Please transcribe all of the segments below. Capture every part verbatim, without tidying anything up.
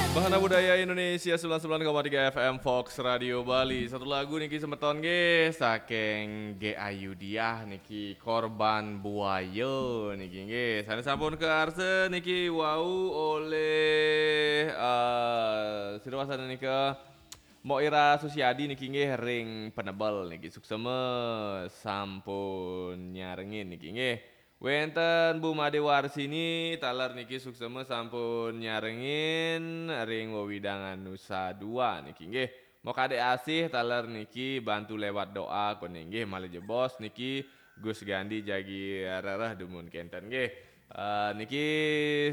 Bahana Budaya Indonesia sembilan sembilan koma tiga F M Fox Radio Bali. Satu lagu niki semeton nggih saking G Ayudiah niki, Korban Buaya niki nggih. Sane sampun kearsa niki wau oleh eh sira wasana nika Mbok Ira Susiadi niki nggih, ring Penebel niki, suksema sampun nyarengin niki nggih. Wenten Bu Made Warsini taler niki, suksema sampun nyarengin ring wewidangan Nusa Dua niki nggih. Mbok Ade Asih taler niki, bantu lewat doa kone nggih, malih jebos niki Gus Gandhi jagi rereh dumun kenten nggih. Eh, niki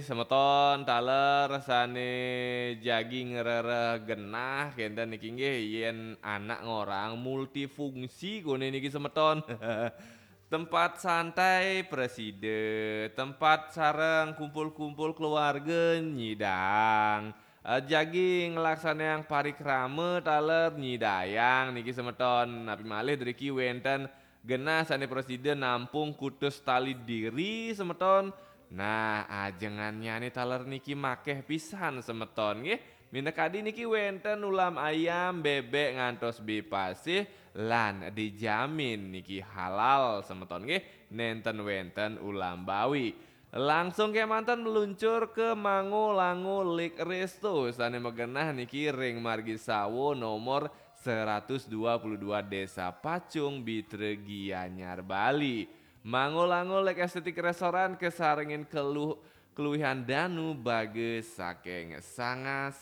semeton taler sane jagi ngrereh genah kenten niki nggih, yen anak ngorang multifungsi kone niki semeton. Tempat santai preside, tempat sareng kumpul-kumpul keluarga nyidang. Eh, jagi nglaksanayang parikrama taler nyidayang niki semeton. Napi malih driki wenten genah sane preside nampung kutus tali diri semeton. Nah, ajengannyane taler niki makeh pisan semeton nggih. Minakadi niki wenten ulam ayam, bebek ngantos bepasih lan dijamin niki halal semeton nggih. Nenten wenten ulam bawi. Langsung kemanten meluncur ke Mango Lango Lake Resto sane magenah niki ring Margi Sawo nomor seratus dua puluh dua Desa Pacung, Bitra, Gianyar, Bali. Mango Lango Lake Aesthetic Restaurant kesarengin keluh keluwihan danu bagus saking Sanga